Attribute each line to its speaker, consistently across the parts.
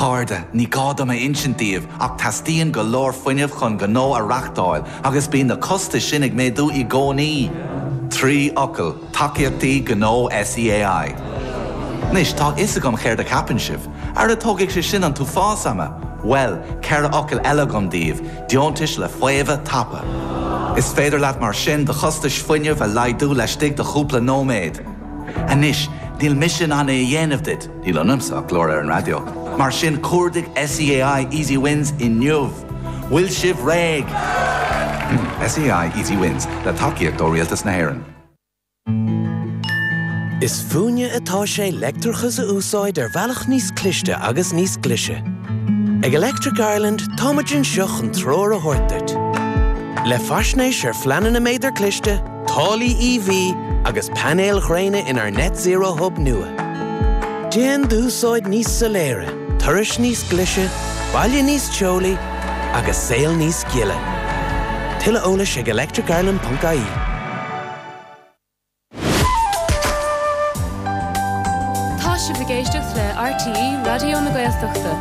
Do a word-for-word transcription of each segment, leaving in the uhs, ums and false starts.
Speaker 1: chairde, ní gá dom a insint daoibh ach teastaíonn go leor fuinnimh chun gnó a reáchtáil agus bíonn na costais sin ag méadú i gcónaí. Trí fhocal, tacaíochtaí gnó SEAI. Anois tá a fhios agam céard a cheapann sibh, Ara tógfaidh sé sin an t-uafás ama. Well, ceithre fhocal eile agam daoibh, deontais le faomhadh tapa. Is féidir leat mar sin do chostais fuinnimh a laghdú laistigh de chúpla nóiméad. Anois, níl mise in ann é a dhéanamh duit, níl ionamsa ach glór ar an raidió. Mar sin cuardaigh SEAI Easy Wins inniu. Bhfuil sibh réidh. SEAI Easy Wins le tacaíocht ó Rialtas na hÉireann.
Speaker 2: Is fúinne atá sé leictreachas a úsáid ar bhealach níos cliste agus níos glaise. Ag Electric Ireland táimid anseo chun treoir a thabhairt duit. Le faisnéis ar phleananna méadar cliste, táillí EV agus painéil ghréine inár Net Zero Hub nua. Déan d'úsáid níos soiléire, turais níos glaise, baile níos teolaí agus saol níos gile. Tuilleadh eolais ag electricireland.ie.
Speaker 3: Tá sibh ag éisteacht le RTÉ Raidió na Gaeltachta.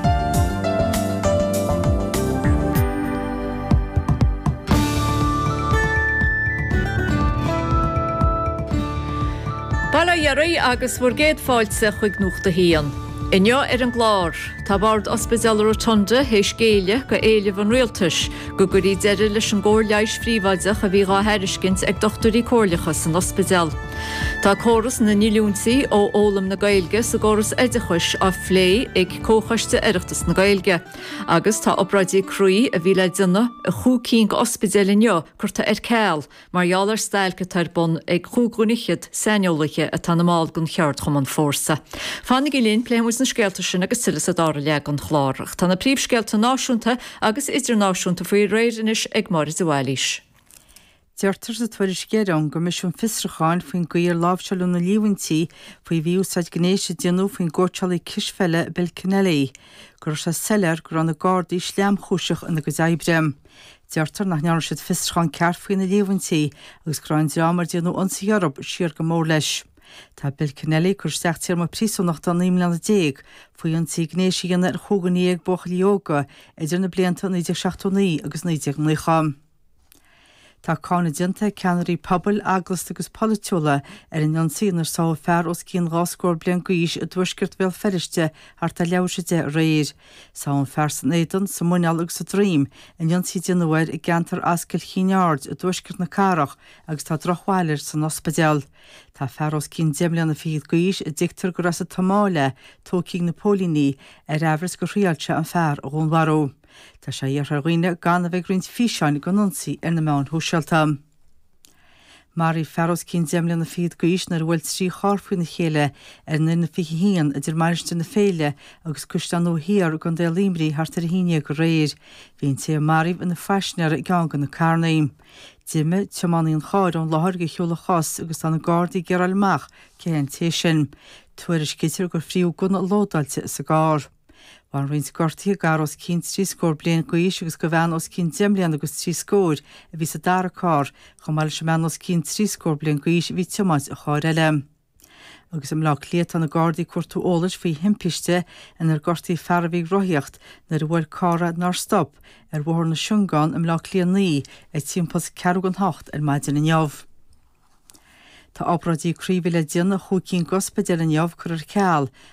Speaker 4: Bail ó Dhia oraibh agus bhur gcéad fáilte chuig Nuacht a hAon. Inniu ar an gclár, tá Bord Ospidéal Rotunda théis géilleadh go éileamh an rialtais go gcuirfí deireadh leis an gcóir leighis phríobháideach a bhí dhá thairiscint ag dochtúirí comhairleacha san ospidéal. Tá córas na ndíolúintí ó fhoghlaim na Gaeilge sa gcóras oideachais á phlé ag Comhchoiste Oireachtas na Gaeilge. Agus tá obráidí croí a bhí le déanamh i chúig cinn d'ospidéil inniu curtha ar ceal mar gheall ar stailc atá ar bun ag chúig dhuine fhichead saineolaithe atá ina mball den cheardchumann Fórsa. Fanaigí linn, pléifidh muid na scéalta sin agus tuilleadh sa dara leath den chlár. Ach tá na príomhscéalta náisiúnta agus idirnáisiúnta faoi réir anois ag Máire de Bhailís.
Speaker 5: Deirtear sa tuairisc dheiridh ón gCoimisiún Fiosrúcháin faoin gcaoi ar láimhseáladh na líomhaintí faoi mhí-úsáid gnéis a déanadh faoin gcóitseálaí cispheile Bill Kennelly go raibh sé soiléir go raibh na Gardaí sleamchúiseach ina gcuid oibre. Deirtear nach ndearna siad fiosrúchán ceart faoi na líomhaintí agus go raibh an dream ar déanadh ionsaithe orthu siar go mór leis. Tá Bill Kennelly curtha isteach téarma príosúnachta naoi mbliana déag faoi ionsaí gnéis a dhéanamh ar chúig dhuine dhéag buachaillí óga idir na blianta naoi déag seachtó naoi agus naoi déag naocha. Tá cáineadh déanta ag ceannairí pobail, eaglasta agus polaitiúla ar an ionsaí inar sáthadh fear os cionn dhá scór bliain d'aois i dtuaisceart Bhéal Feirste thart ar leathuair tar éis a deich aréir. Sáthadh an fear san éadan, sa muineál agus sa droim in ionsaí a déanadh air i gceantar Ascaill Chinn Aird i dtuaisceart na cathrach agus tá drochbhail air san ospidéal. Tá fear os cionn deich mbliana fichead d'aois, a dtuigtear gur as an tSomáil é, tógtha ag na póilíní ar aimhreas gur thriáil sé an fear a dhúnmharú. Tá sé iarrtha ar dhaoine gan a bheith ag roinnt físeáin den ionsaí ar na meáin shóisialta. Maraíodh fear os cionn deich mbliana fichead d'aois nuair a bhuail trí charr faoina chéile ar an N fiche a haon idir Mainistir na Féile agus Caisleán Nua Thiar i gContae Luimnigh thart ar a haon déag aréir. Bhí an té a maraíodh ina phaisinéir i gceann de na carranna. D'imigh tiománaí an chairr ón láthair de shiúl a chos agus tá na Gardaí ag iarraidh a fháil amach cé hé an té sin. Tuairiscítear gur frítheadh gunna lódáilte sa gcarr. Bhain roinnt gortuithe d'fhear os cionn trí scór bliain d'aois agus do bhean os cionn deich mbliana agus trí scóir a bhí sa dara carr, chomh maith leis an mbean os cionn trí scór bliain d'aois a bhí ag tiomáint an chairr eile. Agus i mBleá Cliath tá na Gardaí ag cuartú eolais faoi thimpiste inar gortaíodh fear a bhí ag rothaíocht nuair a bhuail carr é nár stop ar Bhóthar na Siongán i mBleá Cliath naoi ag timpeall ceathrú don hocht ar maidin inniu. Tá obráidí croí a bhí le déanamh i chúig cinn d'ospidéil inniu curtha ar ceal